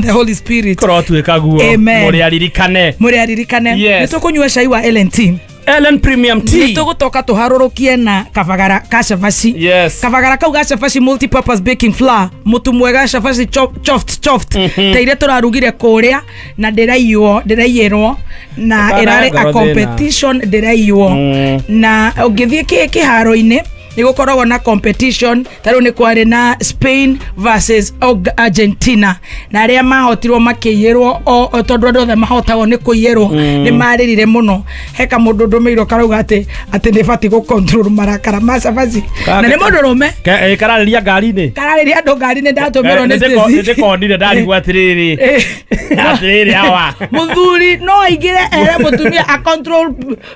the Holy Spirit. Kũrotuĩka guo. Amen. Mũrĩ aririkane. Mũrĩ aririkane. Yes. Nĩ tũkũnyua cai wa L&T. Ellen Premium Tea. Nĩ tũgũtoka tũharũrũkie na kabagara ka cabaci. Yes. Kabagara kau ga cabaci multi-purpose baking flour, mũtu mwega cabaci chopped chopped. Ta iria tũrarugire kũrĩa na ndĩraiywo, ndĩraiyĩrwo na Ndũkanae ĩrarĩ a ngoro thĩna. competition ndĩraiywo. Na ũngĩthiĩ kĩharo-inĩ nĩ gũkoragwo na competition, ta rĩu nĩ kwarĩ na Spain versus Argentina, na arĩa mahotirwo makĩiyĩrwo o tondũ andũ othe mahotagwo nĩ kũiyĩrwo, nĩ marĩrire mũno. He kamũndũ ndũmĩirwo karauga atĩ nĩ batiĩ gũ control marakara ma cabaci, na nĩ mũndũrũme. Kararĩria ngari-inĩ. Kararĩria andũ ngari-inĩ, ndatũmĩrwo nĩ Stacy. Nĩndĩkonire ndarigwo atĩrĩrĩ. Atĩrĩrĩ hawa. Mũthuri no aingĩre ere mũtumia a control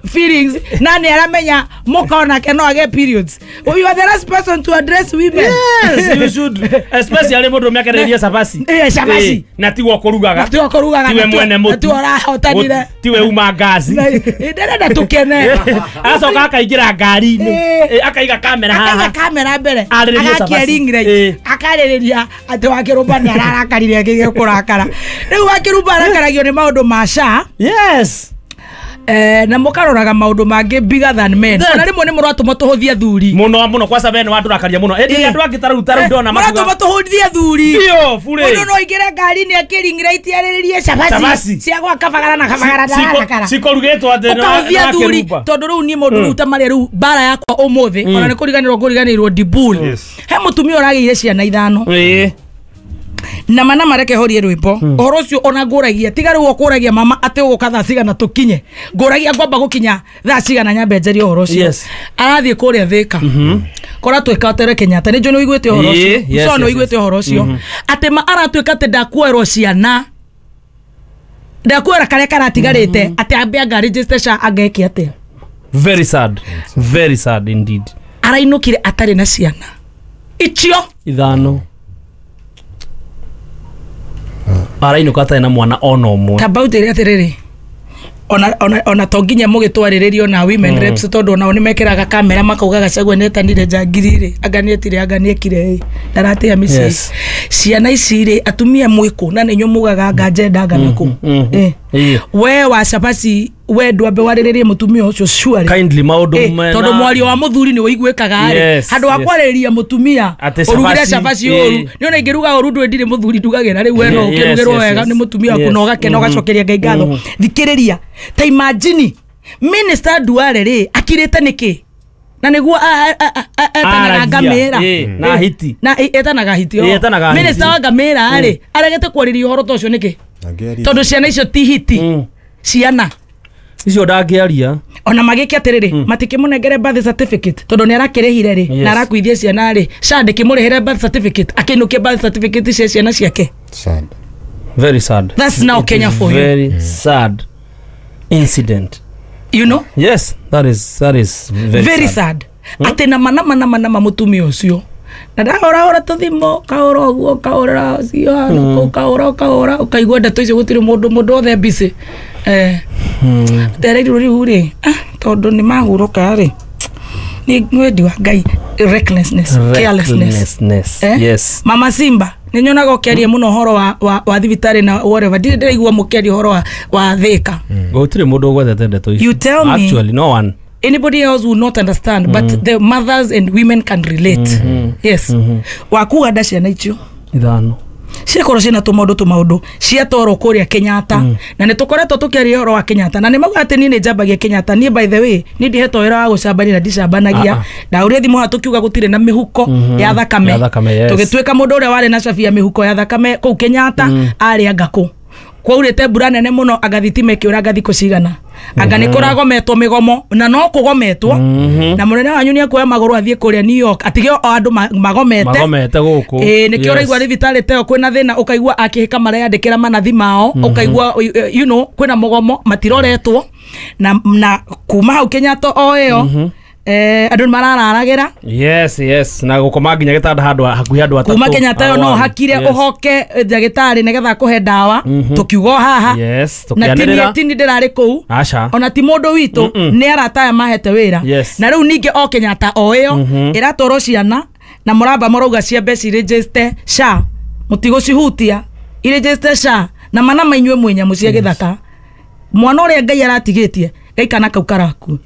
feelings, na nĩ aramenya mũka onake no agĩe periods. You are the last person to address women. Yes, you should. Especially mũndũ ũrĩa akereria cabaci. Cabaci. Na tiwe ũkũrugaga. Na tiwe ũkũrugaga, Tiwe mwene mũtu. na tiwe ũrahotanire. Tiwe uma ngaci. Na, ndĩrenda tũkene. Acoka akaingĩra ngari-inĩ. Akaiga kamera haha. Akaiga kamera mbere. Arĩrĩrie Agakia cabaci. ring light. Akarĩrĩria atĩ Wakĩrũmba nĩ ararakarire akĩgĩa kũrakara. Rĩu Wakĩrũmba arakaragio nĩ maũndũ ma SHA. Yes. Na mũkaroraga maũndũ mangĩ bigger than men. Ona rĩmwe nĩ mũratũma tũhũthie athuri. Mũno mũno, kwa sababu nĩ watũrakaria mũno. Ĩndĩ andũ angĩ ta rĩu ta rĩu ndona makiuga- Mũratũma tũhũthie athuri. Biũ, bure. Mũndũ no aingĩre ngari-inĩ akĩ ring light arĩrĩrie cabaci Cabaci. cia gwa kabagara na kabagara ndarakara. Cikũrugĩtwo atĩ nĩ Ũkahũthia wa athuri Kĩrumba. tondũ rĩu niĩ mũndũ rĩu ta marĩa rĩu mbara yakwa ũmũthĩ, ona nĩ kũriganĩrwo ngũriganĩirwo Dibul. He mũtumia ũragĩire ciana 5. Na mana mareke horie rwĩmbo. Ũhoro ũcio ona ngũragia, tiga rĩu ũkũragia mama atĩ ũgũka thaa cigana tũkinye. Ngũragia ngwamba gũkinya thaa cigana nyambe njarie ũhoro ũcio. Arathiĩ kũrĩa Thĩka. Kora twĩka tere Kenyatta, nĩ njũĩ nĩ ũiguĩte ũhoro ũcio. Yes, So nĩ yes, ũiguĩte yes. ũhoro ũcio. Atĩ ma aratuĩka atĩ ndakuoerwo ciana. Ndakuoera karĩa karatigarĩte, atĩ ambe anga register SHA angeke atĩa. Very sad. Very sad indeed. Arainũkire atarĩ na ciana. Icio 5. Arainũka atarĩ na mwana ona ũmwe. Ta baũnjĩre atĩrĩrĩ, ona to nginya mũgĩtwarĩrĩrio na women reps, tondũ onao nĩmekĩraga kamera makauga Gachagua nĩetanire njangiri rĩ, anga nĩetire, anga nĩekire ĩ, ndaratĩa mĩciĩ. Ciana ici rĩ, atumia mwĩkũ na nĩ inyuĩ mugaga anga njenda anga nakũ. We wa cabaci, we ndwambe warĩrĩrie mũtumia ũcio surely. Kindly maũndũ mena- Tondũ mwario wa mũthuri nĩ ũiguĩkaga rĩ. Yes, Handũ ha yes. kwarĩrĩria mũtumia, Atĩ ũrugire cabaci, cabaci ũru. Nĩ ona ingĩruga ũru ndũĩ ndirĩ mũthuri ndugagĩra rĩu we no ũkĩrugĩrwo wega nĩ mũtumia waku na ũgakena ũgacokeria Ngai ngatho. Thikĩrĩria, ta imagine Minister Duale rĩ akirĩte nĩkĩ? Na nĩguo etanaga Aragia. ngamĩra. Na hiti. Na etanaga hiti, o. Etanaga hiti. Minister wa ngamĩra rĩ aregete kwarĩria ũhoro ta ũcio nĩkĩ? Angĩaria. Tondũ ciana icio ti hiti. Ciana. Icio ndangĩaria. Ona magĩke atĩrĩrĩ, matikĩmũnengere birth certificate tondũ nĩ arakĩrĩhire rĩ, na arakuithia ciana rĩ, SHA ndĩkĩmũrĩhĩre birth certificate, akĩinũkie birth certificate cia ciana ciake. Sad. Very sad. That's now It Kenya is for you. Very sad incident. You know? Yes, that is very, Very sad. sad. Atĩ nama nama nama nama mũtumia ũcio na ndahũrahũra tũthimũ, kahũra ũguo, kahũra ũcio, ũkahũra, ũkahũra, ũkaigua ndeto icio gũtirĩ mũndũ othe busy. Ndereirwo rĩu rĩ, tondũ nĩ mahurũka rĩ, nĩ wendi wa Ngai, recklessness, carelessness. Recklessness. Yes. Mama Simba, nĩ nyonaga ũkĩaria mũno ũhoro wa thibitarĩ na whatever. Ndirĩ ndĩraigua mũkĩaria ũhoro wa Thĩka. Gũtirĩ mũndũ ũgwetete ndeto icio. You tell me. Actually, no one. Anybody else will not understand, but the mothers and women can relate. Yes. Wakuga nda ciana icio. 5. Ciakorwo ciĩna tũmaũndũ tũmaũndũ ciatwarwo kũrĩa Kenyatta. Na nĩ tũkoretwo tũkĩaria ũhoro wa Kenyatta. Na nĩ mauga atĩ niĩ nĩ njambagia Kenyatta. Niĩ by the way, niĩ ndihetwo wĩra wa gũcambania na ndicambanagia. Ndahũrire thimũ haha tũkiuga gũtirĩ na mĩhuko ya thakame. Ya thakame, yes. Tũgĩtuĩka mũndũ ũrĩa warĩ na cabi ya mĩhuko ya thakame kũu Kenyatta, arĩ anga kũ. Kwaurĩte mbura nene mũno, anga thitima ĩkĩũra thikũ cigana. Anga nĩ kũragometwo mĩgomo, na no kũgometwo. Na mũnene wanyu nĩ ekuoya magũrũ athiĩ kũrĩa New York, atige o andũ magomete. Magomete gũkũ. Nĩkĩo ũraigua thibitarĩ ta ĩyo kwĩna thĩna, ũkaigua akĩhĩka mareyandĩkĩra manathi mao, ũkaigua, you know, kwĩna mũgomo, matiroretwo. Na kuma hau Kenyatta o ĩyo, andũ nĩ marararagĩra. Yes, yes. Na gũkoma nginya gĩtanda handũ hakuhĩ andũ atatũ. Kuma Kenyatta ĩyo no Arwaru. ũhakire ũhoke ndagĩtarĩ nĩgetha akũhe ndawa, tũkiuga o haha. Yes, Na tũkĩanĩrĩra. tini ndĩrarĩ kũu. Aca. Ona ti mũndũ witũ, nĩ arata aya mahete wĩra. Na rĩu ningĩ o Kenyatta o ĩyo, ĩratwarwo ciana na mũramba marauga ciambe ciregister SHA, mũtigũcihutia. Iregister SHA na mana mainywe mwĩ nyamũ cia gĩthaka. Mwana ũrĩa Ngai aratigĩtie Ngai kana kau karaku.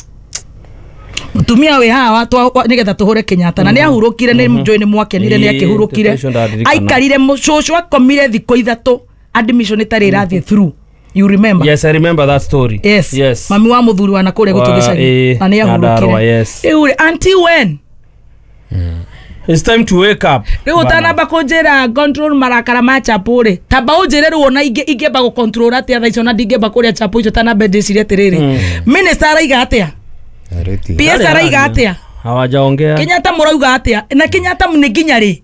Mutumia wĩ haha nĩgetha tũhũre Kenyatta na nĩahurũkire nĩ njũĩ nĩ mwakenire nĩakĩhurũkire. Aikarire cũcũ akomire thikũ 3 admission ĩtarĩ ĩrathiĩ through. You remember? Yes, I remember that story. Yes. Yes. Mami wa muthuri wa nakũrĩa gwitũ gĩcagi na nĩahurũkire. Yes. Rĩu rĩ until when? It's time to wake up. Rĩu ũtanamba kũnjĩra control marakara ma chapo rĩ, tamba ũnjĩre rĩu ona ingĩamba gũ control atĩa thaa icio na ndingĩamba kũrĩa chapo icio tanambe ndĩcirie atĩrĩrĩ. Minister araiga atĩa? PS araiga atĩa? Hawajaongea. Kenyatta mũrauga atĩa? Na Kenyatta nĩ nginya rĩ?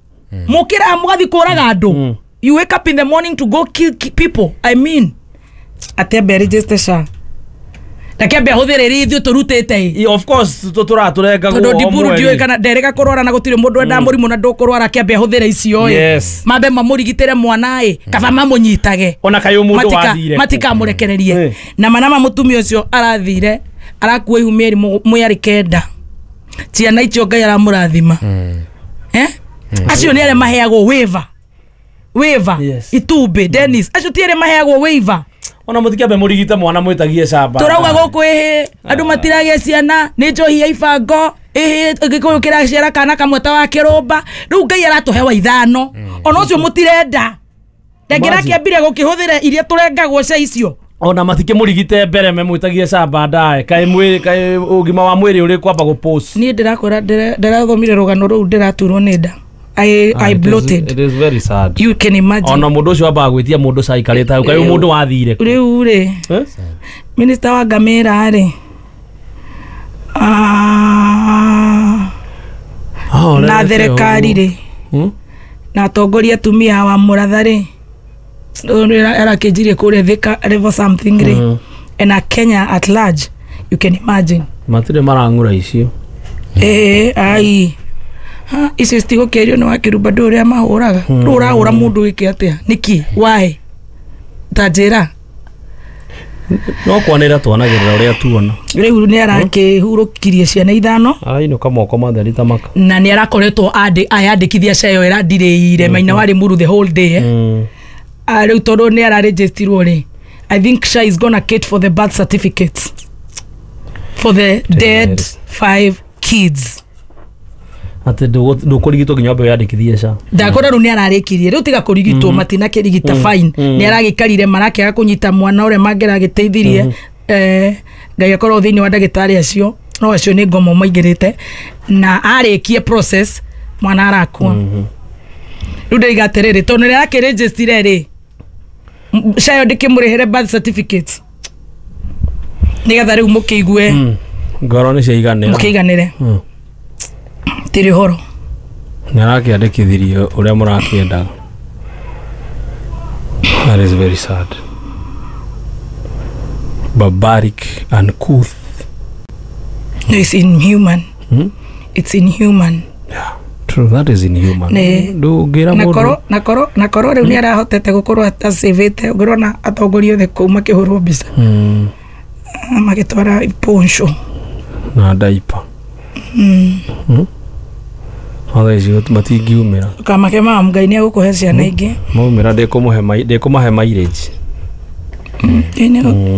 Mũkĩra mũgathiĩ kũraga andũ. You wake up in the morning to go kill people. I mean, atembe register SHA. Ndakĩambe ahũthĩre iria ithuĩ tũrutĩte. Of course tũratũrenga guo. Tondũ Ndiburu ndiũĩ kana nderĩga kũrwara na gũtirĩ mũndũ wendaga mũrimũ na ndũkũrwara akĩambe ahũthĩre icio ĩ. Yes. Mambe mamũrigitĩre mwana ĩ, kaba mamũnyitage. Ona kaĩ mũndũ wathire. Matikamũrekererie. Na manama mũtumia ũcio arathire arakua ihu mĩeri mĩarĩ 9. Ciana icio Ngai aramũrathima. Acio nĩ arĩa maheagwo waiver. Waiver. Itumbĩ Dennis acio ti arĩa maheagwo waiver. Ona mũtikiambe mũrigite mwana mwĩtagie camba. Tũrauga gũkũ ĩhĩ andũ matiragĩa ciana nĩ njohi ya ibango ĩhĩ gĩkũyũ kĩraciara kana kamwe ta wa kĩrũmba. Rĩu Ngai aratũhe wa 5 ona ũcio mũtirenda. Ndangĩrakĩambire gũkĩhũthĩra iria tũrengagwo cia icio. Ona matikĩmũrigite mbere memwĩtagie camba ndae kaĩ mwĩrĩ kaĩ ũgima wa mwĩrĩ ũrĩ kwamba gũpost. Niĩ ndĩrakwĩra ndĩrathomire rũgano rũu ndĩraturwo nĩ nda. I bloated. It is very sad. You can imagine. Ona mundu ucio ambaga gwitia mundu caikarite hau kai mundu wathire. Riu ri. Minister wa Ngamĩra ri. Na thirikari ri. Na atongoria atumia wa Muratha ri. Arakĩnjirie kũrĩa Thika level something ri. And a Kenya at large, you can imagine. Matirĩ marang'ura icio. Ai. Icio citigũkĩario nĩ wakĩrumba ndũ ũrĩa mahũraga. Rĩu ũrahũra mũndũ wĩke atĩa? Nĩkĩ? Why? Ta njĩra. No kwanĩra twanagĩrĩra ũrĩa tuona. Rĩu nĩ arakĩhurũkirie ciana 5. Arainũka moko matheri ta maka. Na nĩ arakoretwo ayandĩkithia cia ĩyo ĩrandirĩire maina wa Limuru the whole day. Rĩu tondũ nĩ araregistirwo rĩ, I think SHA is gonna cater for the birth certificates for the dead 5 kids. Atĩ ndũkũrigitwo nginya wambe wĩyandĩkithie SHA. Ndakora rĩu nĩ ararĩkirie rĩu tiga kũrigitwo matinakĩrigita fine nĩ aragĩikarire marakĩaga kũnyita mwana ũrĩa mangĩragĩteithirie. Ngai akorwo thĩinĩ wa ndagĩtarĩ acio no acio nĩ ngomo maingĩrĩte na arĩkie process mwana arakua. Rĩu ndĩiga atĩrĩrĩ tondũ nĩ arakĩrĩnjĩstire rĩ SHA ĩyo ndĩkĩmũrĩhĩre birth certificate nĩgetha rĩu mũkĩigue ngoro nĩ ciaiganĩra mũkĩiganĩre. Tiri horo. Nĩ arakĩandĩkithirie ũrĩa mũrakĩendaga. That is very sad. Barbaric and uncouth. No, it's inhuman. It's inhuman. Yeah, true, that is inhuman. Ndũngĩra mũndũ. Na korwo rĩu nĩ arahotete gũkorwo atacĩvĩte ũngĩrona atongoria othe kũu makĩhũrwo mbica. Magĩtwara poncho na daipa. Othe icio matingiumĩra. Kamake mama Ngai nĩ egũkũhe ciana ingĩ. Maumĩra ndĩkũmahe mileage.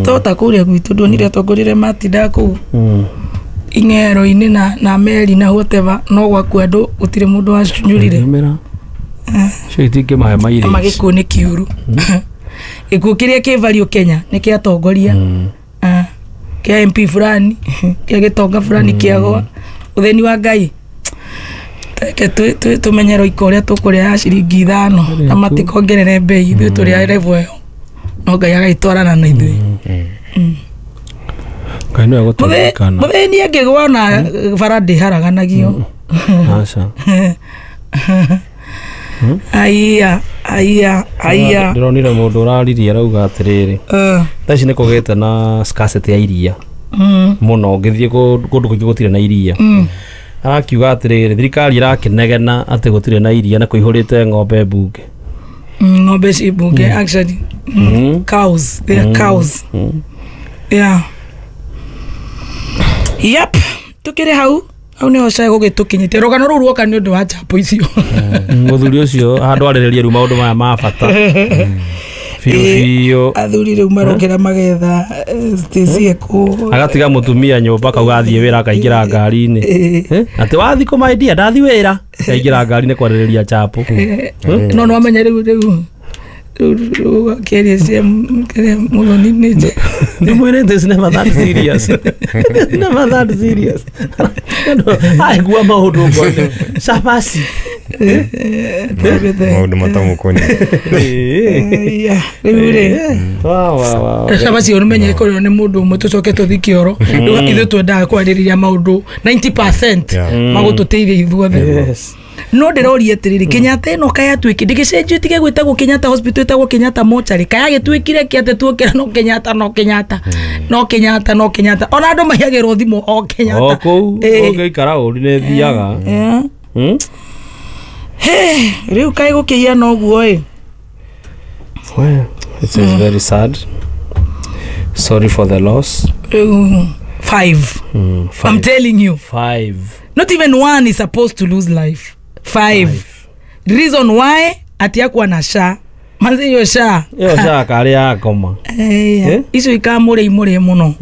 Tota kũrĩa gwitũ ndonire atongoria arĩa matindaga kũu ing'ero-inĩ na meri na whatever no gwaku andũ gũtirĩ mũndũ wacunyũrire. Icio itingĩmahe mileage. Magĩkuũ nĩ kĩũru. Gĩkuũ kĩrĩa kĩ value Kenya nĩ kĩa atongoria. Kĩa MP fulani kĩa gĩtonga fulani kĩagwa. Ũthĩni wa Ngai. Reke tũmenye roiko ũrĩa tũkũrĩa ya ciringi 5 na matikongerere mbei ithuĩ tũrĩ a level ĩyo. No Ngai agagĩtwarana na ithuĩ. Ngai nĩwe gũtũririkana. Mũthĩni angĩgwa ona bara ndĩharaganagio. Aca. Aiya aiya aiya. Ndĩronire mũndũ ũraririe arauga atĩrĩrĩ. Thaa ici nĩ kũgĩte na scarcity ya iria. Mũno ũngĩthiĩ kũndũ kũingĩ gũtirĩ na iria. Arakiuga atĩrĩrĩ thirikari ĩrakĩnegena atĩ gũtirĩ na iria na kũihũrĩte ng'ombe mbunge. Ng'ombe ci mbunge actually. Cows, they are cows. Yeah. Yep, tukĩrĩ hau Hau nĩho cai gũgĩtũkinyĩtie rũgano rũu ruoka nĩ ũndũ wa chapo icio. Mũthuri ũcio handũ arĩrĩrie rĩu maũndũ maya ma bata biũ biũ. Athuri rĩu marokĩra magetha Stacy ekũ agatiga mũtumia nyũmba kauga athiĩ wĩra akaingĩra ngari-inĩ. Atĩ wathiĩ kũmaindia ndathiĩ wĩra akaingĩra ngari-inĩ kwarĩrĩria chapo. No no amenya rĩu rĩu rĩu akĩaria cia kĩrĩa mũthoni nĩ nje. Ndimwĩrĩte it's never that serious. It's never that serious. Aigua maũndũ ngone cabaci. Maũndũ matamũkoniĩ. Rĩu rĩ cabaci ũmenye kũrĩo nĩ mũndũ ũmwe tũcoke tũthi kĩoro. Rĩu ithuĩ twendaga kwarĩrĩria maũndũ 90% magũtũteithia ithuothe. Yes. No ndĩroria atĩrĩrĩ, Kenyatta ĩno kayatuĩkire ndĩgĩcenjio ĩtige gwĩtagwo Kenyatta Hospital ĩtagwo Kenyatta Mortuary, kayagĩtuĩkire kĩ atĩ tuokĩra no Kenyatta no Kenyatta no Kenyatta no Kenyatta, ona andũ maiyagĩrwo thimũ o Kenyatta. O kũu ũngĩikara ũru nĩ thiaga. Rĩu kaĩ gũkĩhiana ũguo ĩ. Well, it is very sad. Sorry for the loss. Rĩu 5. I'm telling you. 5. Not even one is supposed to lose life. 5. Reason why ati akuwa na SHA. Manze hiyo SHA. Iyo SHA karĩ yakoma. Icio ikamũrĩ imũrĩ mũno.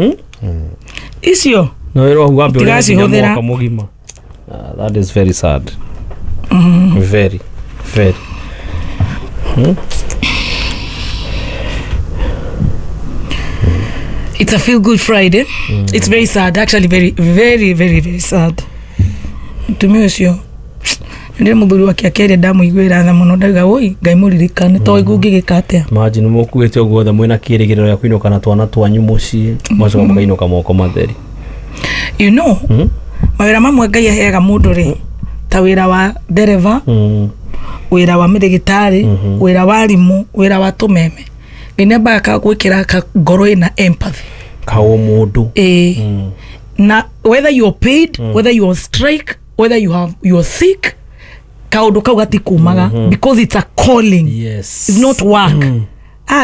Icio. No wĩra waku wambe ũrĩa nginya Tigacihũthĩra. mwaka mũgima. That is very sad. Very, very. It's a feel good Friday. It's very sad, actually very very very very sad. Mutumia ũcio ndĩ mũthuri wake akĩaria ndamũiguĩra tha mũno, ndauga oi Ngai mũririkane to igu ngĩgĩka atĩa. Imagine mũkuĩte ũguo othe mwĩna kĩĩrĩgĩrĩro gĩa kũinũka na twana twanyu mũciĩ, mũgacoka mũkainũka moko matheri. You know, mawĩra mamwe Ngai aheaga mũndũ rĩ, ta wĩra wa ndereba, wĩra wa mĩrĩgĩtarĩ, wĩra wa arimũ, wĩra wa tũmeme. Ngai nĩ ambaga gwĩkĩra ka ngoro ĩna empathy. Kaũmũndũ. Na whether you're paid, whether you're on strike, whether you're sick, kaũndũ kau gatikumaga because it's a calling. Yes. It's not work.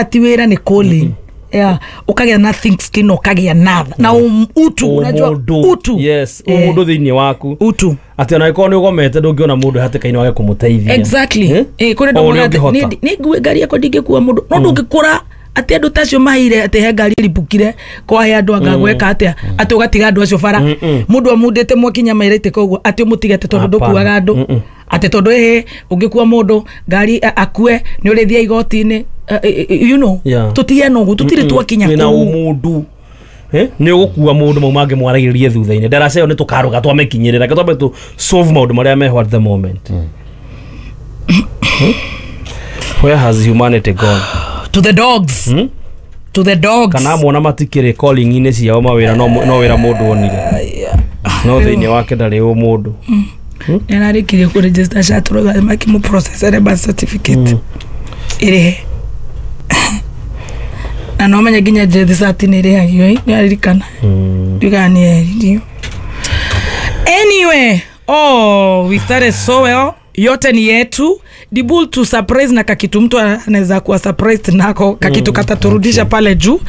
Ti wĩra nĩ calling. Yeah, ũkagĩa na think skin, ũkagĩa na na utu, unajua utu. Yes, ũmũndũ thĩinĩ waku. Utu. Atĩ ona angĩkorwo nĩ ũgomete ndũngĩona mũndũ hatĩka-inĩ wage kũmũteithia. Exactly. Kũrĩ andũ O ũrĩa moigaga atĩ, ũngĩhota. nĩ ngue ngari yakwa ndingĩkua mũndũ. No ndũngĩkũra atĩ andũ ta acio maheire atĩ he ngari ĩribũkire kwahe andũ anga gweka atĩa atĩ ũgatiga andũ acio bara. Mũndũ amundĩte mwakinya mairaitĩka ũguo atĩ ũmũtige atĩ tondũ ndũkuaga andũ. Atĩ tondũ ĩhĩ ũngĩkua mũndũ ngari akue nĩ ũrĩthiĩ igoti-inĩ. You know, tũtiana ũguo tũtirĩ twakinya Wĩna kũu. ũmũndũ. Nĩ ũgũkua mũndũ mau mangĩ mwaragĩrĩrie thutha-inĩ. Ndaraca ĩyo nĩ tũkarũga twamĩkinyĩrĩra. Reke twambe tũ solve maũndũ marĩa meho at the moment. Where has humanity gone? To the dogs. To the dogs. Kana mona matikĩrĩ calling-inĩ ciao mawĩra no wĩra mũndũ onire. No thĩinĩ wake ndarĩ ũmũndũ. Nĩararĩkirie kũ register SHA tũroga makĩmũ-processere birth certificate. Ĩrĩhe. Na no menye nginya death cert nĩ ĩrĩhagio ĩ, nĩaririkana. Ndiugaga nĩ eririo. Anyway, oh, we started so well. Yote ni yetu. Dibul to surprise na kakitu mtu anaweza kuwa surprised nako kakitu kataturudisha pale juu.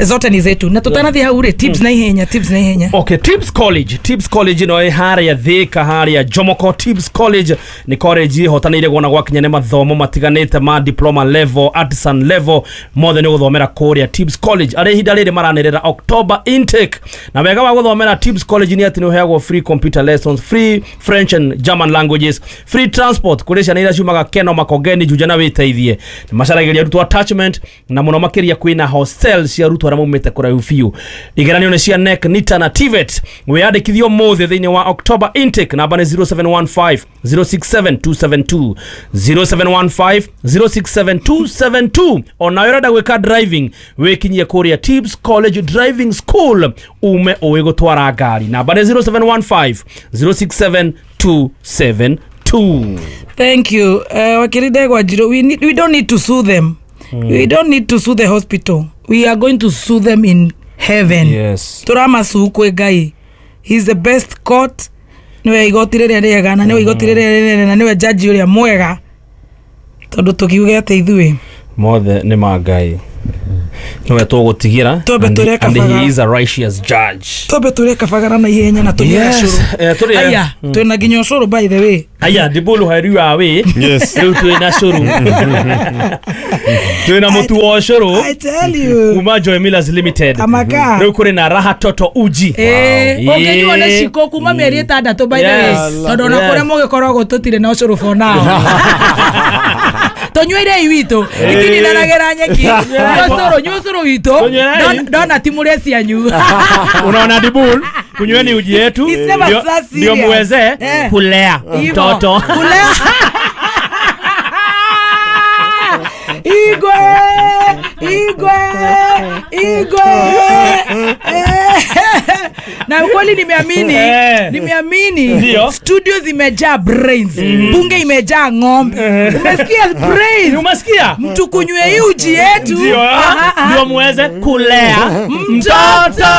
Zote ni zetu. Na tutanathi hau rĩ, tips na ihenya, tips na ihenya. Okay, Tips College. Tips College no harĩa Thika, harĩa Jomoko. Tips College nĩ college ĩhotanĩire kuona gwakinya nĩ mathomo matiganĩte ma diploma level, artisan level, mothe nĩ gũthomera kũrĩa Tips College. Arĩa ihinda rĩrĩ maranĩrĩra October intake. Na wega wa gũthomera Tips College nĩ atĩ nĩ ũheagwo free computer lessons, free French and German languages, free transport kũrĩ ciana iria ciumaga Keno, Makongeni, Juja na wĩteithie. Nĩ macaragĩria arutwo attachment na mũno makĩria kwĩna hostel cia arutwo arĩa maumĩte kũraihu biũ. Igeranio nĩ cia NEC, NITA na TVET. Wĩyandĩkithie ũmũthĩ thĩinĩ wa October intake. Namba nĩ 0715 067 272, 0715 067 272. Onawe ũrenda gwĩka driving, wĩkinyie kũrĩa Tips College Driving School ume ũĩ gũtwara ngari. Namba nĩ 0715 067 272. Thank you. Wakiri Ndegwa Njirũ, we don't need to sue them. We don't need to sue the hospital. We are going to sue them in heaven. Yes. Tũramasuu kwĩ Ngai. He's the best court. Nĩwe igoti rĩrĩa rĩega na nĩwe igoti rĩrĩa rĩnene na nĩwe jaji ũrĩa mwega. Tondũ tũkiuge atĩ ithuĩ mothe nĩ ma Ngai. Niwe tũgũtigĩra. Twambe tũrĩe And he kabagara. is a righteous judge. Twambe tũrĩe kabagara na ihenya na tũnyue Yes. cũrũ. Tũrĩe. Aya, twĩna nginya ũcũrũ by the way. Aya, ndibulu heriwa we. Yes. Rĩu twĩna cũrũ. Twĩna mũtu wa ũcũrũ I tell you. kuma Joy Millers Limited. Kamaka. Rĩu kũrĩ na Raha Toto Uji. Ũngĩnyuo nĩ ciko kuma mĩeri 6 by the way. Yes. Tondũ ona Yes. kũrĩa mũgĩkoragwo tũtirĩ na ũcũrũ for now. Tũnyuĩrei witũ itininanagĩra nyeki. Nyua ũcũrũ, nyua ũcũrũ witũ. Tũnyuĩrei. Ndona ti mũrĩe cianyu. Unaona Dibul, kunyweni uji yetu It's never so serious. ndio muweze kulea Hivo. mtoto. Kulea. Igwe, Igwe, Igwe. Na ukweli nimeamini, nimeamini Ndio. studio zimejaa brains, bunge imejaa ng'ombe. Umesikia brains? Umesikia? Mtu kunywe hii uji yetu. Ndio, Aha, aha. ndio muweze kulea mtoto.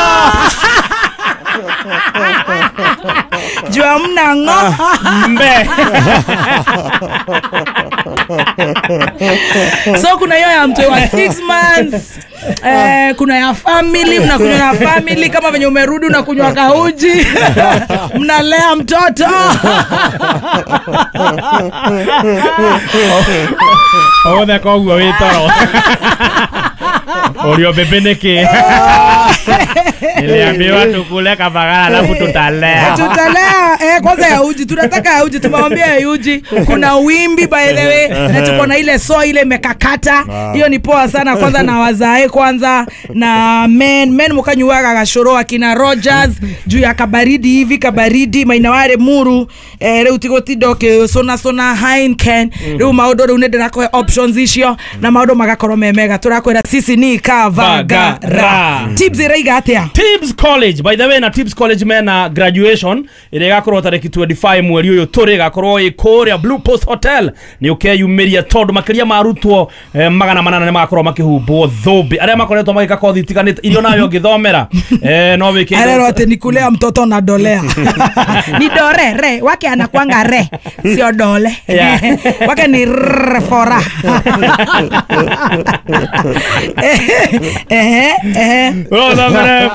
Jua mna ng'ombe. So kuna hiyo ya mtu wa 6 months. Kuna ya family, mnakunywa na family kama venye umerudi unakunywa kauji. Mnalea mtoto. Othe koguo wĩ toro. Ũrio bebe nĩkĩ? Niliambiwa tukule kabagara alafu tutalea. Tutalea, kwanza ya uji, tunataka ya uji, tumewambia ya uji. Kuna wimbi by the way, na tuko na ile so ile mekakata. Hiyo ni poa sana kwanza na wazae kwanza na men mukanyuaga gacũrũ akina Rogers juu ya kabaridi hivi kabaridi mainaware muru rĩu tigotinda ũkĩcũna cũna Heineken. Rĩu maũndũ rĩu nĩ ndĩrakũhe options icio na maũndũ magakorwo me mega. Tũrakwĩra sisi ni Kavagara. Tips ĩraiga atĩa? Tips College, by the way, na Tips College mena graduation ĩrĩa ĩgakorwo tarĩki 25 mweri ũyũ tũrĩ, ĩgakorwo ĩ kũrĩa Blue Post Hotel. Nĩ ũkeyumĩria tondũ makĩria ma arutwo 800 nĩ magakorwo makĩhumbwo thũmbĩ arĩa makoretwo magĩka kothi itiganĩte iria nawe ũngĩthomera. No wĩke Arero atĩ ni kulea mtoto na dolea. Ni dore re wake anakuanga re sio dole. Yeah. Wake ni rr fora.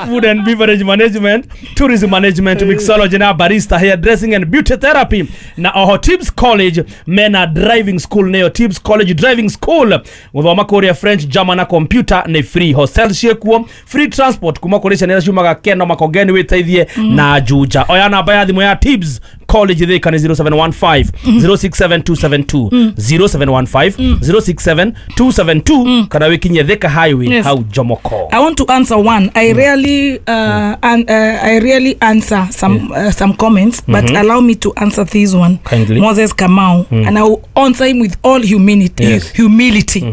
Food and beverage management, tourism management, mixology na barista, hairdressing and beauty therapy. Na oho Tips College mena driving school neyo Tips College driving school. Gũthoma kũrĩa French, German na computer nĩ free. Hostel ciĩkuo, free transport kuma kũrĩ ciana iria ciumaga Keno Makongeni wĩteithie na Juja. Oya namba ya thimũ ya Tips College Thika nĩ 0715 067272 0715 067272 kana wĩkinyie Thika Highway. Yes. Hau Jomoko. I want to answer one. I rarely I rarely answer some comments, but allow me to answer this one. Kindly. Moses Kamau, and I will answer him with all humility. Yes. Humility.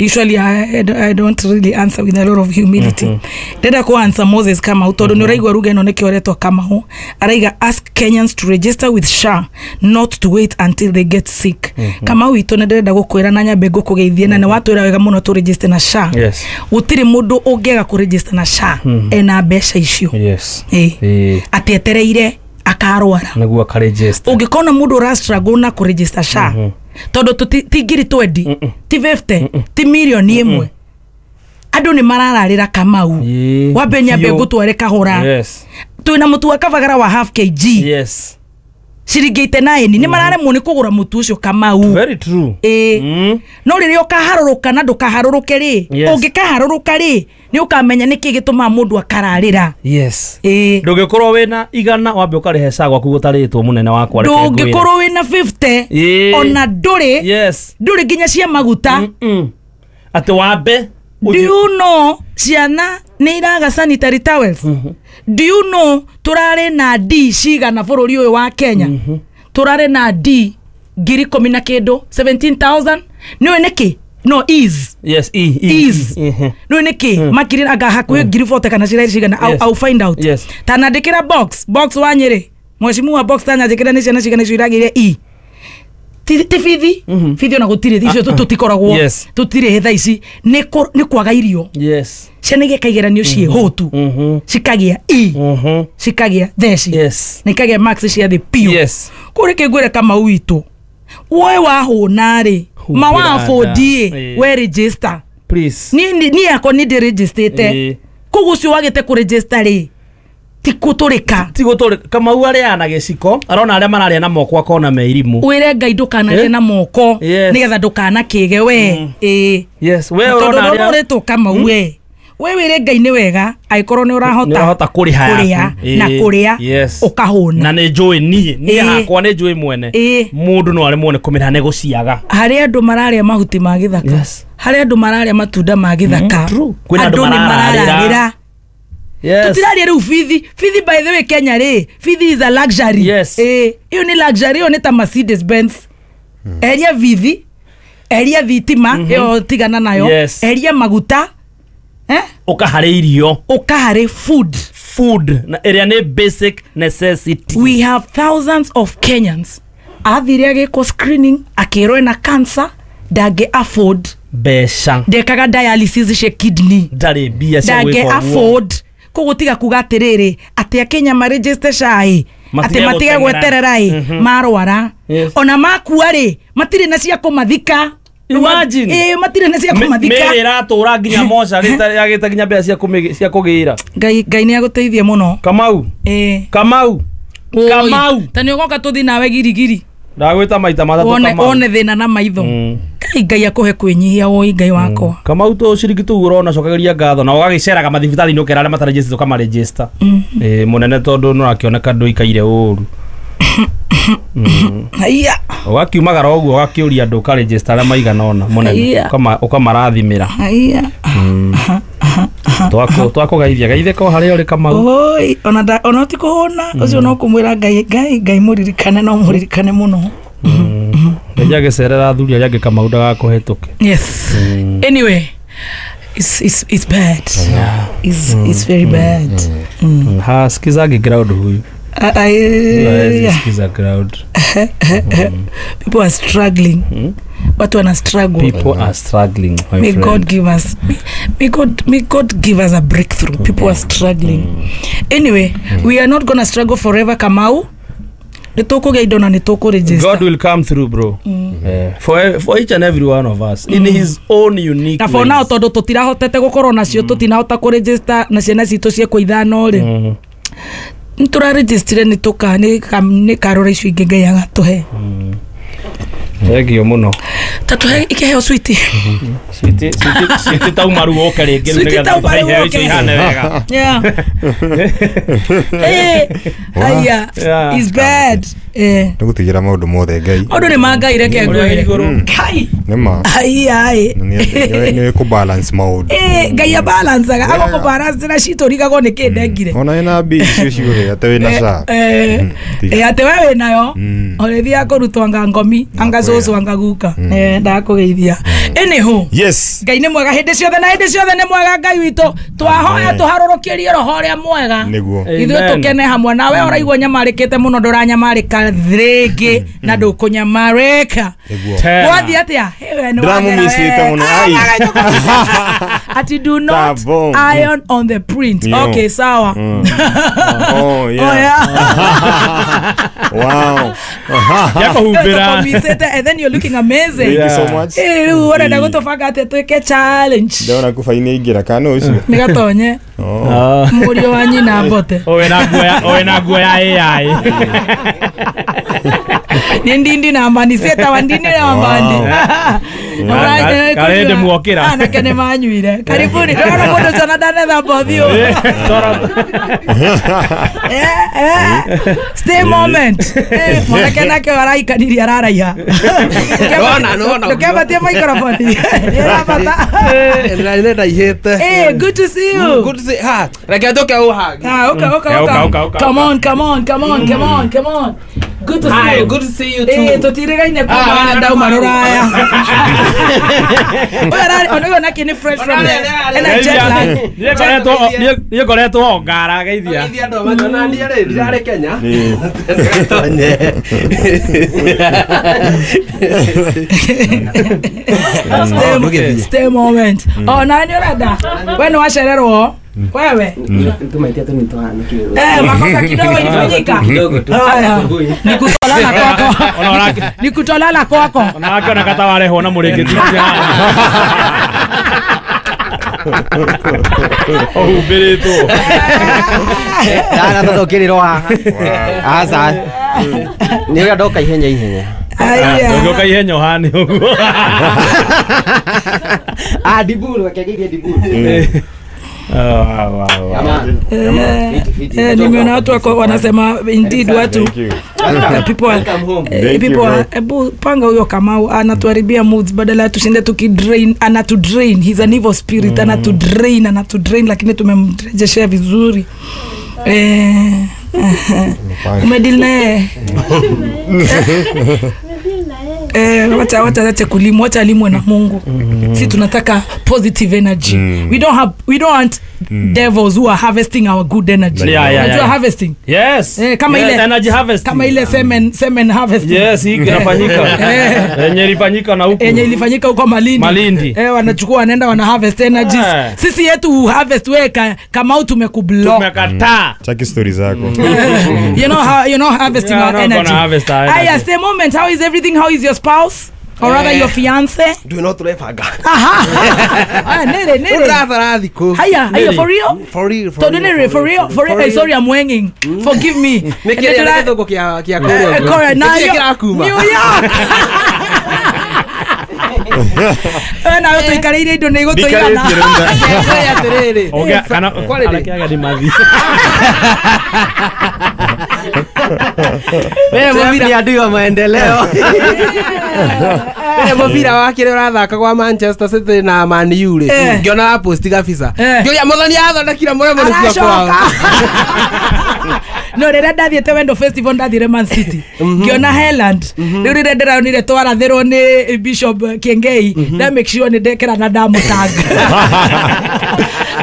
Usually I don't really answer with a lot of humility. Ndenda ku answer Moses Kamau tondu ni uraigua ruga ino nikio retwa Kamau. Araiga ask Kenyans to register with SHA, not to wait until they get sick. Kamau itu ni ndĩrenda gukwira na nyambe ngukugeithie na ni watwira wega muno tu register na SHA. Yes. Gutiri mundu ungiaga ku register na SHA ena mbeca icio. Yes. Ati etereire akarwara. Niguo akaregister. Ungikona mundu ura struggle na ku register SHA tondu ti ngiri 20 ti 50 ti milioni ĩmwe andũ nĩ marararĩra Kamau. Wambe nyambe ngũtware kahũra. Yes. Twĩna mũtu wa kabagara wa half kg. Yes. Ciringi 89 nĩ mararemwo nĩ kũgũra mũtu ũcio Kamau. Very true. No rĩrĩa ũkaharũrũka na ndũkaharũrũke rĩ, ũngĩkaharũrũka rĩ nĩ ũkamenya nĩkĩ gĩtũmaga mũndũ akararĩra. Yes. Ndũngĩkorwo wĩna igana wambe ũkarĩhe SHA gwaku gũtarĩtwo mũnene wakwa reke ngwĩre. Ndũngĩkorwo wĩna 50 ona ndũrĩ. Yes. Ndũrĩ nginya cia maguta. Atĩ wambe. Do you know ciana nĩ iraga sanitary towels? Do you know turarĩ na D cigana bũrũri ũyũ wa Kenya? Turarĩ na D ngiri ikũmi na kĩndũ 17,000. Nĩũĩ nĩkĩ? No is. Yes, E is. Nĩũĩ nĩkĩ? Makiri anga hakuhĩ ngiri 40 kana cirarĩ cigana. I'll find out. Yes. Tanandĩkĩra box wa Nyĩrĩ. Mheshimiwa box tanandĩkĩra nĩ ciana cigana icio iragĩire E. Ti bithi bithi ona gũtirĩ icio tũtikoragwo tũtirĩ thaa ici nĩ kwaga irio. Yes. Ciana igeka igeranio ciĩ hũtu cikagĩa E cikagĩa theci na ikagĩa max cia thĩ piũ. Yes. Kũu rĩkĩ ngwĩre Kamau witũ woe wahũna rĩ mawabũndi we register. Please. Ni yakwa ni ndĩrĩnjĩstĩte. Koguo ũcio wagĩte kũregister rĩ ti gũtũrĩka. Ti gũtũrĩka. Kamau arĩa na gĩciko arona arĩa mararĩa na moko akona me irimũ. Wĩre Ngai ndũkanarĩe na moko nĩgetha ndũkanakĩge we. Ĩĩ. Yes, we ũrona arĩa ũrĩtwo Kamau we. We wĩre Ngai nĩ wega angĩkorwo nĩ ũrahota kũrĩha na kũrĩa ũkahũna. Na nĩ njũĩ niĩ hakwa nĩ njũĩ mwene. Mũndũ no aremwo nĩ kũmĩra nĩ gũciaga. Harĩ andũ mararĩa mahuti ma gĩthaka. Harĩ andũ mararĩa matunda ma gĩthaka. Andũ nĩ marararĩra. Yes. Tutiraria rĩu bithi. Bithi by the way Kenya rĩ, bithi is a luxury. Yes. Ĩyo nĩ luxury, ĩyo nĩ ta Mercedes Benz. Eria bithi, eria thitima, ĩyo tigana nayo. Yes. Eria maguta. Ũkaharĩ irio. Ũkaharĩ food. Food na ĩrĩa nĩ basic necessity. We have thousands of Kenyans. Athire agĩkwo screening, akĩrwo ena cancer, ndangĩ afford mbeca. Ndekaga dialysis cia kidney. Ndarĩ mbia cia gwĩka ndangĩ ũguo. afford. Koguo tiga kuga atĩrĩrĩ atĩ akenya maregister SHA ĩ atĩ matige gweterera ĩ marwara. Ona makua rĩ matirĩ na cia kũmathika. Imagine. Matirĩ na cia kũmathika. Mĩrĩ ĩratũra nginya mocarĩ yagĩte nginya mbeca cia kũgĩra. Ngai nĩ agũteithie mũno. Kamau. Kamau. Kamau. Ta nĩ ũgoka tũthiĩ nawe girigiri. Ndagwĩta maita matatũ Kamau. One thĩna na maitho. Ngai Ngai akũhe kwĩnyihia woi Ngai wakwa. Kamau tũ ciringi tũu ũrona cokagĩria ngatho na ũgagĩceraga mathibitarĩ-inĩ ũkera arĩa matarejĩstĩte ũkamarejĩsta. Mũnene tondũ nĩ ũrakĩoneka ndũikaire ũru. Haiya. Ũgakiumagara ũguo ũgakĩũria andũ ũkarejĩsta arĩa maigana ũna mũnene ũkamarathimĩra. Haiya. Twakũgeithia geithĩka o harĩa ũrĩ Kamau. Oi ona ti kũhũna ũcio no kũmwĩra Ngai Ngai Ngai mũririkane no mũririkane mũno. Ngai agĩcerera athuri arĩa angĩ Kamau ndagakũhĩtũke. Yes. Anyway, it's bad. It's very bad. Ha sikizagi ground huyu. Sikiza ground. People are struggling. Watu wana struggle. People are struggling, my may friend. God give us may God give us a breakthrough. People are struggling. Anyway, we are not gonna struggle forever Kamau. Nĩtũkũgĩa indo na nĩtũkũregister. God will come through bro. For each and every one of us in his own unique na for now tondũ tũtirahotete gũkorwo nacio tũtinahota kũregister na ciana citũ ciekwo ithano rĩ. Nĩtũrarejistire nĩtũka nĩ karora icio ingĩ Ngai agatũhe. Thengio mũno. Tatũhe ikĩheo switi. Switi tauma rĩu ũke rĩngĩ nĩgetha tũhe icio ihane wega. Yeah. Aya, it's bad. Nĩgũtigĩra maũndũ mothe Ngai. Maũndũ nĩ ma Ngai reke ngwĩre. Ngai. Nĩ ma. Ai. Nĩ kũ balance maũndũ. Ngai a balanceaga agũkũ balance na citũ rigagwo nĩ kĩ ndengire. Ona ĩna mbia icio cigũrĩ atĩ wĩna SHA. Atĩ we wĩnayo. Ũrĩthiaga kũrutwo anga ngomi anga cũcũ anga guka. Ndakũgeithia. Anyhow. Yes. Ngai nĩ mwega hĩndĩ ciothe na hĩndĩ ciothe nĩ mwega Ngai witũ. Twahoya tũharũrũkĩrie roho ũrĩa mwega. Nĩguo. Ithuĩ tũkene hamwe nawe ũraigua nyamarĩkĩte mũno ndũranyamarĩka rĩngĩ na ndũkũnyamarĩka. Gwathiĩ atĩa? Ndĩramũmicĩte mũno. Ati do not iron on the print. Okay, sawa. Oh yeah. Wow. Yakuhumbĩra. And then you're looking amazing. Thank you so much. Rĩu ũrenda gũtũbanga atĩa twĩke challenge? Ndĩrona kuba-inĩ ingĩra kana ũcio. Nĩ gatonye. Mũriũ wa nyina mbote. Ũwe na nguo ya AI. Nĩ ndindi na mbandi ciĩtawa ndindi na mbandi. Karende muokĩra. Anake nĩ manyuire. Karibuni. Ndĩrona mũndũ ũcio na ndanethamba ũthiũ. Stay moment. Mwanake nake araikanirie araraiha. Ndũkembatie microphone. Nĩrabata. Nĩndaihĩte. Good to see you. Good to see. Ha, reke njoke ũhagi. Okay. Come on, come on, come on, come on, come on. Good to see you. Good to see you too. Tũtirĩgaine kuma ndauma rũraya. Ũyũ nake nĩ fresh from the ena jet lag. Niĩ ngoretwo ngara geithia. Geithia andũ manyona niĩ rĩ ndirarĩ Kenya. Stay moment. Oh, na nĩ ũrenda. We nĩ wacererwo. Wewe tumaitia tu nitohanukire. Makosa kidogo ilifanyika. Kidogo tu. Nikutolala kwako. Nikutolala kwako. Ona wake ona kata warehwo na mũrĩngĩti. Ũhumbĩrĩtwo. Ndana tondũ ũkĩrĩrwo haha. Aca. Nĩ ũrĩa ndoka ihenya ihenya. Aya. Ndũngĩũka ihenya ũhane ũguo. Ah, Diburu, reke ngeithie Diburu. Oh, wow, wow. Nimeona watu wako wanasema indeed watu Thank you. people are, Welcome home. Thank you, people bro. are, ebu panga huyo Kamau anatuharibia moods, badala tushinde tukidrain, anatudrain. He's an evil spirit. Anatudrain lakini tumemrejeshea vizuri. Umedeal naye. Wacha wacha kulimwa, wacha alimwe na Mungu. Si tunataka positive energy. We don't want devils who are harvesting our good energy. Yeah. Harvesting. Yes. Kama ile energy harvesting. Kama ile semen harvesting. Yes, hii inafanyika. Yenye ilifanyika na huko. Yenye ilifanyika huko Malindi. Wanachukua wanaenda wana harvest energies. Sisi yetu harvest wewe kama tumekublock. Tumekataa. Chaki story zako. You know how you're not harvesting our energy. Harvest our energy. Aya, stay moment. How is everything? How is your spouse? Or rather your fiance? Do not refanga. Aha. Ah, nere. Haya, haya, for real? For real. For real. Sorry, I'm wanging. Forgive me. New York. Na wewe tuikarĩire indo nĩ igũtũigana. Oga kana arakiaga ni mathi. Wewe ni adui wa maendeleo. Wewe mũbira wake ũrĩa ũrathaka kwa Manchester City na Man U rĩ, ngĩona post kabisa. Ngĩũria Mũthoni athondekire mũremo nĩkuo kwao. No rĩrĩa ndathiĩte Wendo Festival ndathire Man City. Ngĩona Haaland. Rĩu rĩrĩa ndĩraonire twarathĩrwo nĩ Bishop Kiengei, nda make sure nĩ ndekĩra na ndamũtanga.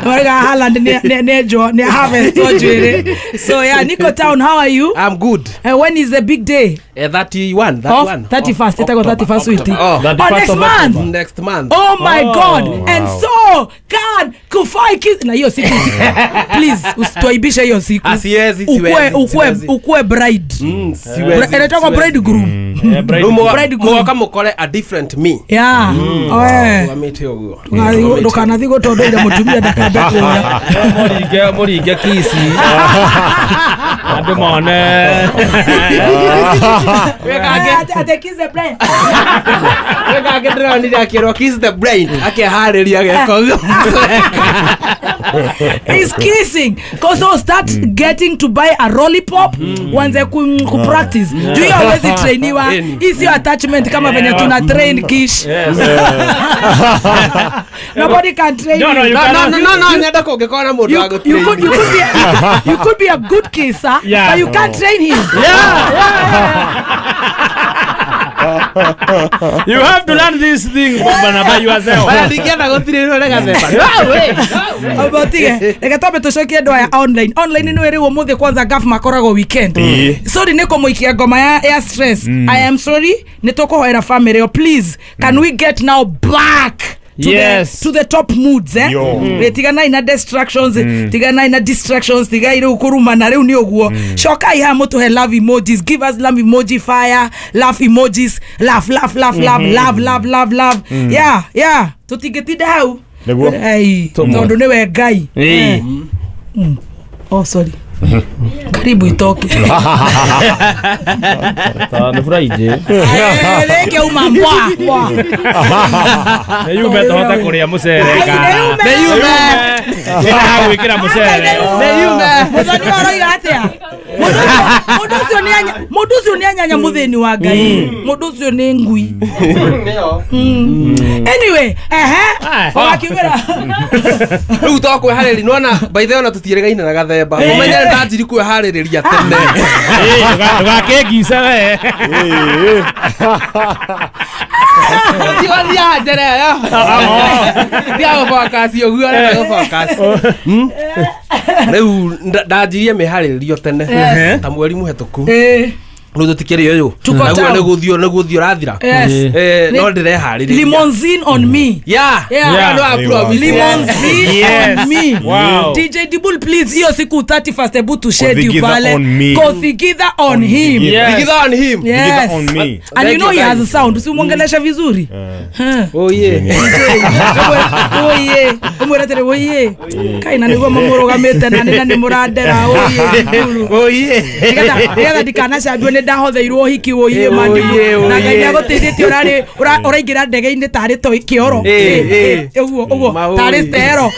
Marga Haaland nĩ harvest njuĩrĩ. So yeah, Nico Town, how are you? I'm good. When is the big day? 31, that one. 31st, itago 31st wiki. Oh, next month. Next month. Oh my God. Wow. And so can Kufai kiss na hiyo siku. Please usituaibishe hiyo siku. Asiwezi, siwezi. Ukue bride. Siwezi. Inaitwa bridegroom. Bridegroom. Kama ukole a different me. Yeah. Ndukanathi gutondoire mutumia ndakambe kuoya. Mũringe kisi. Andũ mone. Ate kiss the brain. Wekake ndĩronire akĩrwo kiss the brain. Akeharĩria geko. He's kissing. Cause so start getting to buy a lollipop. Wanze ku practice. Do you always trainiwa? Is your attachment kama venye tuna train kish? Yes. Nobody can train no, you. No, nyenda kũngĩkorwo na mũndũ wa gũtrain. You could be a good kisser, but you can't train him. Yeah. You have to learn this thing by yourself. Ndingĩenda gũtirĩrwo nĩ gathemba. Obotige. Reke twambe tũcokie andũ aya online. Online nĩ rĩu ũmũthĩ kwanza gaf makoragwo weekend. Sorry nĩ kũmũikia ngoma ya stress. I am sorry. Nĩ tũkũhoera family. Please, can we get now back to the to the top moods, eh? Tiganai na distractions, tiganai na distractions, tigai riu kurumana riu ni uguo. Cokai ha mutuhe love emojis, give us love emoji fire, laugh emojis, laugh laugh laugh laugh love love love love. Yeah, yeah. Tutingitinda hau. Ei, tondu niwe Ngai. Oh sorry. Karibu itoke. Ni Friday. Reke uma mbwa. Nĩ yume tohota kũrĩa mũcere. Nĩ yume. Gwĩkĩra mũcere. Nĩ yume. Mũthoni aroiga atĩa? Mũndũ ũcio nĩ anyanya mũthĩni wa Ngai. Mũndũ ũcio nĩ ngui. Anyway, wakiugĩra. Rĩu to kwĩharĩria nĩwona by the way ona tũtiĩrĩgaine na gathemba. Ũmenye ndanjiri kwĩharĩrĩria tene. Ndũgakĩngice we. Tiwathiaga njera ĩyo. Thiaga gũbokasi ũguo ũrenda gũbokasi. Rĩu ndanjirie mĩharĩrĩrio tene ta mweri mũhetũku. Rĩu tũtikĩrĩ ũyũ. Naguo nĩgũthiĩ nĩgũthiĩ ũrathira. No ndĩreharĩrĩria. Limousine on me. Yeah. Yeah. No, I promise. Limousine on me. Wow. DJ Dibul, please, hiyo siku 31st hebu tu schedule pale. Kothigitha on him. Kothigitha on him. Yes. On me. And you know he has a sound. Usimwongelesha vizuri. Oh yeah. Oh yeah. Umweretere oh yeah. Kai na niguo mamũrũgamĩte na nĩ mũrandera oh yeah. Oh yeah. Nĩgetha ndikanacambio nĩ ndahotheirwo hiki oh yeah Mandibu. Na Ngai nĩagũteithĩtie ũrarĩ ũraingĩra ndege-inĩ tarĩ to kĩoro. Ũguo ũguo tarĩ stero.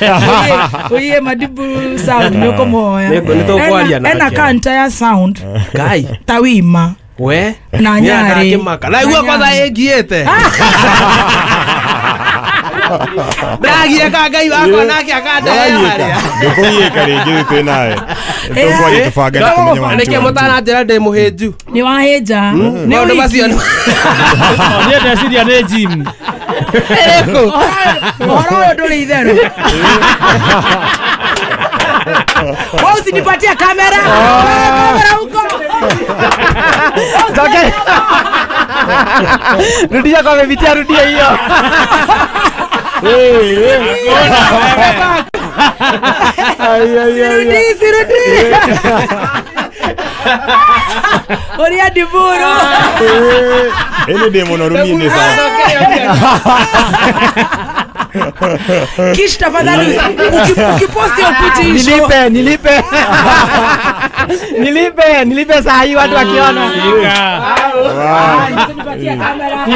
Oh yeah Mandibu sound nĩ ũkũmũhoya. Nĩ tũkwaria nake. Ena kanta ya sound. Ngai. Tawima. We na nyari. Na igua kwanza ĩngiĩte. Ndagieka Ngai wakwa nake akandehere. Ndũkũgiĩka rĩngĩ twĩ nawe. Tũkwaria tũbange na tũmenye wa. Nĩkĩ mũtananjĩra ndĩ mũhĩnju? Nĩ wahĩnja. Maũndũ macio niĩ ndeciria nĩ gym. Ĩrĩkũ? Ũhoro ũyũ ndũrĩ itherũ. Wewe usinipatie kamera. Kamera huko. Okay. Rudia kwa mepitia, rudia hiyo. Sirudi, sirudi. Oria Diburu. Ene demo na rumi ni sana. Kish tafadhali ukiposti ukuti nilipe nilipe. Nilipe nilipe saa hii watu wakiona. Usinipatie kamera.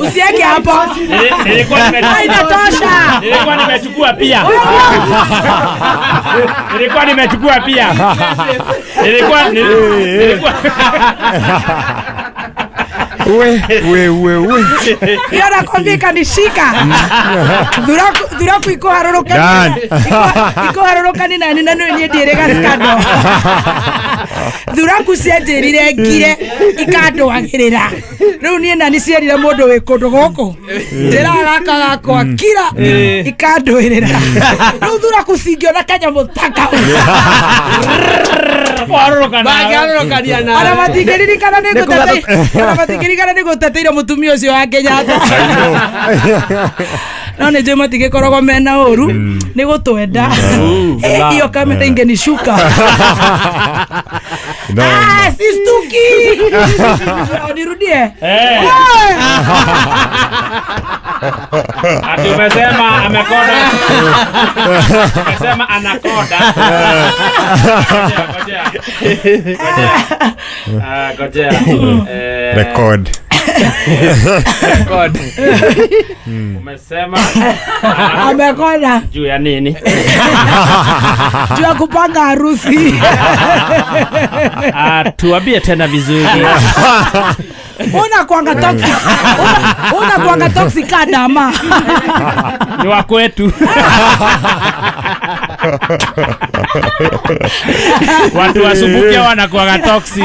Usiweke hapo. Inatosha. Nilikuwa nimechukua pia. Nilikuwa nimechukua pia. Nilikuwa We. Hiyo nakwambia ikanishika. Dhuraku iko harorokani. Iko harorokani na nina niĩ ndĩrĩga scandal. Dhuraku cianjĩrire ngire ikandwagĩrĩra. Rĩu niĩ na nĩcierire mũndũ wĩ kũndũ gũkũ. Njĩraga gaka gakwa kira ikandwĩrĩra. Rĩu thuraku cingĩona kanyamũ ta kau. Mangĩharũrũkania nawe. Ona matingĩririkana nĩ ngũteteire. Nĩ ngũteteire mũtumia ũcio wa Kenyatta. No nĩ njũĩ matigĩkoragwo mena ũru nĩ gũtwenda. Hiyo kamera ingenishuka. Ah, sistuki. Nirudie. Ati umesema amekoda. Umesema anakoda. Ngojea. Ah, ngojea. Record. Record. Umesema amekoda. Juu ya nini? Juu ya kupanga harusi. Ah, tuambie tena vizuri. Una kuanga toxic. Una kuanga toxic kadama. Ni wa kwetu. Watu wasumbukia wanakuanga toxic.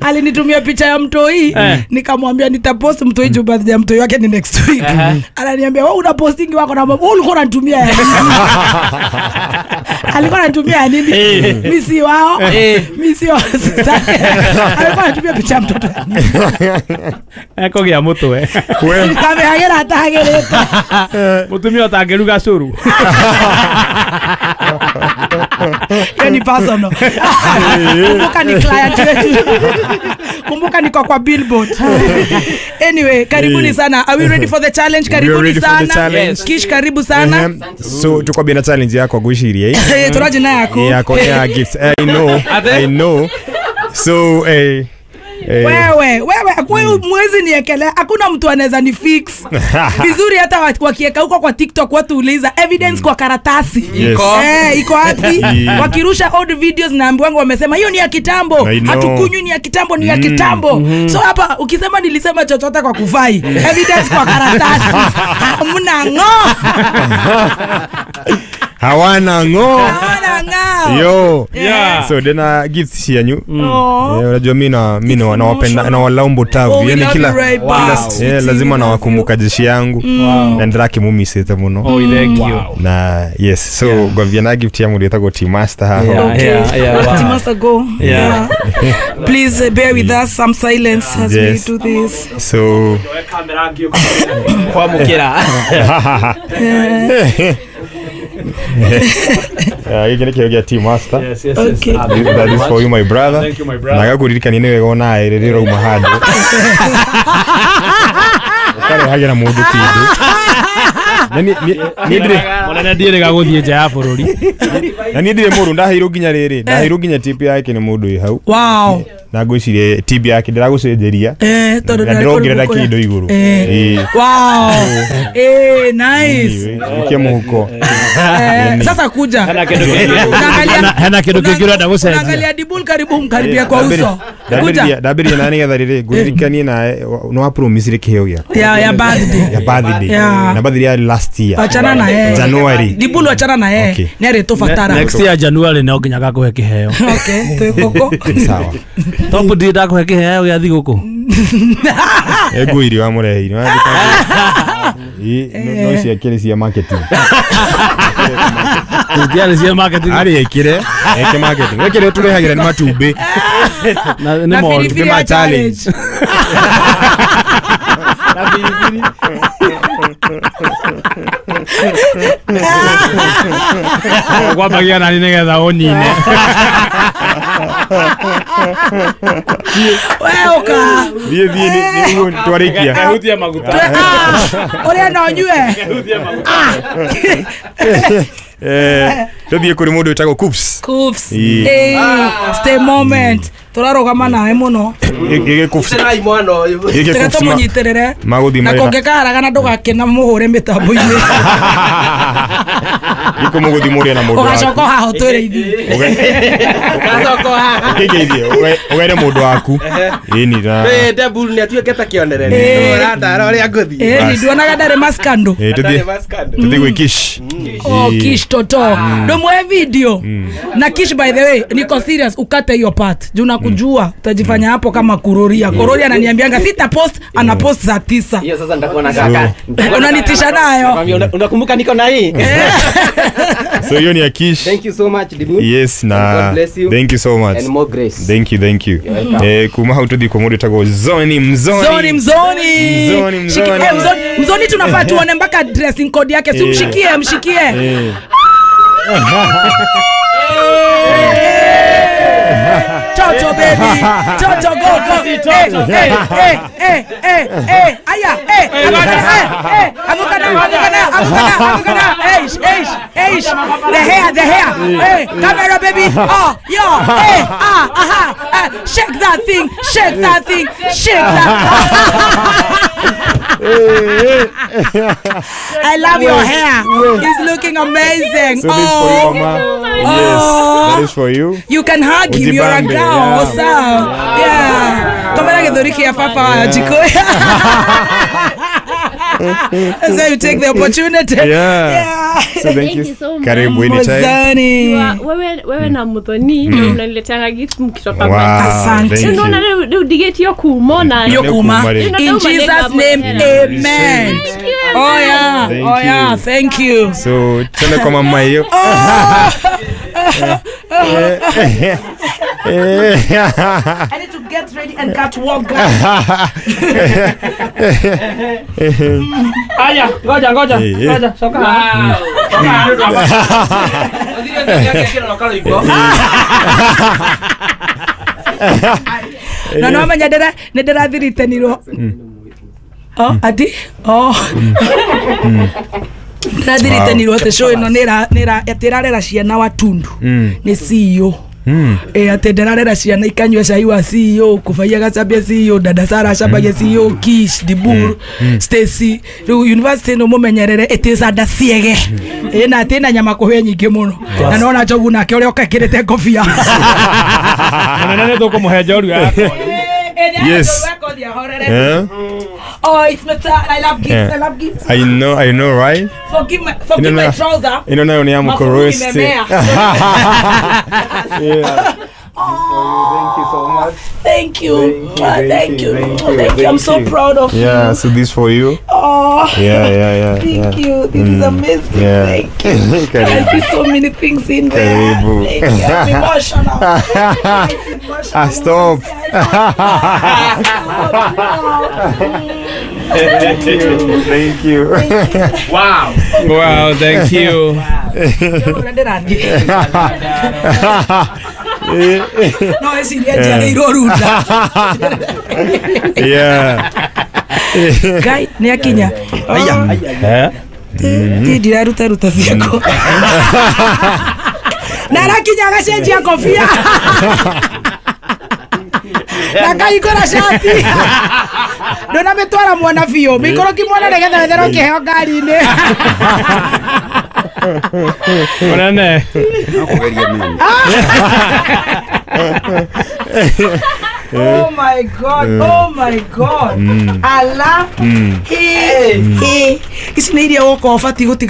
Alinitumia picha ya mtoi, nikamwambia nitapost mtoi juu birthday ya mtoi wake ni next week. Ananiambia wewe una posting wako na wewe ulikuwa unanitumia ya nini? Alikuwa ananitumia nini? Mimi si wao. Mimi si wao. Alikuwa anatumia picha ya mtoto. Ekogĩa mũtwe. Kamehagĩra atahagĩrĩte. Mũtumia ũtangĩruga cũrũ. Hiyo ni personal. Kumbuka ni client wetu. Kumbuka niko kwa billboard. Anyway, karibuni sana. Are we ready for the challenge? Karibuni sana. Yes. Kish, karibu sana. So tuko bina challenge yako gwiciria. Eh, turaje na yako. Yako ya gifts. I know. I know. So Wewe, wewe mwezi niekelea. Hakuna mtu anaweza ni fix. Vizuri hata wakieka huko kwa TikTok watu uliza evidence kwa karatasi. Yes. Iko wapi? Wakirusha old videos na ambiwangu wamesema hiyo ni ya kitambo. Hatukunywi ni ya kitambo, ni ya kitambo. So hapa ukisema nilisema chochote kwa kufai, evidence kwa karatasi. Hamna ngo. Hawana ngo. Hawana ngao. Yo. Yeah. So dena gifts cianyu. Oh. Unajua mimi na mimi nawapenda na walaumbo tavu. Yani kila lazima nawakumbuka jeshi yangu. Na ndiraki mumisete muno. Oh, thank you. Na yes, so gwavia na gift ya mundu etagwo Team Master haha. Okay. Yeah, Team Master go. Yeah. Please bear with us some silence as we do this. So kwamukira. Gĩkĩ nĩ kĩheo gĩa Team Master. Yes, yes, Okay. yes. That is for you my brother. Thank you my brother. Na gakuririkania nĩ wega ona rĩrĩa ũrauma handũ. Ũkarehagĩra mũndũ kĩndũ. Na niĩ ndirĩ Mũnene ndiĩrĩga gũthiĩ nja ya bũrũri. Na niĩ ndirĩ mũru ndaheirwo nginya rĩrĩ. Ndaheirwo nginya tip yake nĩ mũndũ wĩ hau. Wow. Na ngwĩciria tip yake ndĩragũcenjeria. Tondũ Na ndĩrongerera kĩndũ igũrũ. Wow. Nice. Ikia mũhuko. Sasa kuja. Hena kĩndũ kĩngĩ ũrenda gũcenjia. Unaangalia Dibul karibu mkaribia kwa uso. Kuja. Ndambĩrĩria na nĩgetha rĩrĩ ngũririkanie nawe nĩ wa promise kĩheo gĩaku. Ya birthday. Ya birthday. Na birthday ya last year. Achana na yeye. January. Dibul achana na yeye. Nĩ arĩtũbatara. Next year January no nginya gakũhe kĩheo. Okay, twĩ Sawa. Top ndi ndakũhe kĩheo gĩa thigũkũ. Ego irio amũreheire. No ciakĩrĩ cia marketing. Ndiarĩ cia marketing. Arĩ ekire, eke marketing. Ekire tũrehagĩra nĩ matumbĩ. Na nĩ matumbĩ ma challenge. Na biribiri. Kwambagia nani nĩgetha ũnine. Wewe uka. Thiĩ thiĩ nĩ twarĩkia. Kehutia maguta. Ũrĩa no nyue. Kehutia maguta. Tũthiĩ kũrĩ mũndũ wĩtagwo Coops. Coops. Stay moment. Tũrarũgama nawe mũno. Gĩkĩ Coops. Tena mwana ũyũ. Gĩkĩ Coops. Tũmũnyitĩrĩre. Magũthiĩ Na kũngĩkaharagana ndũgakĩna mũhũre mĩtambo-inĩ. Gĩkũ mũgũthiĩ mũrĩe na mũndũ waku. Ũgacoka haha ũtwĩre ithuĩ. Ũgacoka haha. Ũkĩngeithie ũgeire mũndũ waku. Ĩni na. Debul nĩ atuĩke ta kĩonereria. Ũratara ũrĩa ngũthiĩ. Ĩni nduonaga ndarĩ maskando. Tũthiĩ gwĩ Kish. Oh, Kish toto. Ndũmwe video. Na Kish by the way, niko serious ukate hiyo part. Juu nakujua utajifanya hapo kama Kuroria. Kuroria ananiambianga sita post, ana post saa 9. Hiyo sasa nitakuwa na kaka. Unanitisha nayo. Unakumbuka niko na hii? So hiyo ni ya Kish. Thank you so much Dibu. Yes na God bless you. Thank you so much. And more grace. Thank you, thank you. Kuma hau tuthi kwa mũndũ wĩtagwo Zoni Mzoni. Zoni Mzoni. Mzoni Mzoni. Mzoni tunafaa tuone mpaka dressing code yake. Si mshikie, mshikie. Toto baby. Toto go go. Aya, Anguka na, anguka na, anguka na. Eish, eish, eish. The hair, the hair. Hey, camera baby. Oh, yo, hey, ah, aha. Shake that thing, shake that thing, shake that. I love your hair. It's looking amazing. So this for you, mama. Yes, that is for you. You can hug him. You're a girl. Yeah. What's up? Yeah. Kamera githuri kia papa wa jiko. So you take the opportunity. Yeah. Yeah. So thank you so much. Karibu anytime. Wewe na Muthoni mnaniletea gift mkitoka kwa. Asante. Unaona leo digeti yo kuumona. Yo kuuma. In Jesus name, amen. Oh yeah. Oh yeah. Thank you. So tena kwa mama hiyo. I need to get ready and cut walk, guys. Aya, ngoja ngoja. Ngoja, soka. No no menya ndira ndirathiritenirwo. Oh, ati? Oh. Ndirathiritenirwo ati show ino nira atirarera ciana watundu. Ni CEO. Ati ndirarera ciana ikanyua cai wa CEO, kubaia gacambia CEO, dada Sara acambagia CEO, Kish, Dibur, Stacy. Riu university no mumenyerere it is ada ciege. Na ati na nyama kuhwe nyingi muno. Na nona njogu nake uria okekirite ngobia. Munene nĩ tũkũmũhe njorua yakwa. Yes. Oh, it's my turn. I love gifts. Yeah. I love gifts. I know, right? Forgive my trouser. Ino nayo ni ya Mafururi mkorosi. imemea. Yeah. Oh, Thank you so much. Thank you. Thank you, Thank you. thank you, Thank you. I'm thank so you. proud of Yeah, you. so this for you. Oh. Yeah. Thank you. This is amazing. Yeah. Thank you. I Karibu. see so many things in there. Karibu. Thank you. I'm emotional. It's emotional. Ah, stop. Stop. Thank you. Thank you. Wow, thank you. No eciria njiarĩirwo runda. Yeah. Ngai nĩ akinya. Eh? Ti ndiraruta ruta ciakwa. Na arakinya agacenjia kobia. Na akahingũra cati. Ndũnamĩtwara mwana biũ. Mĩikũrũki mwana nĩgetha wetherwo kĩheo ngari-inĩ. Mũnene. Kugeria mimi. Oh my God, oh my God. Allah. He, he. Ici nĩ iria woka ũbatiĩ gũtiga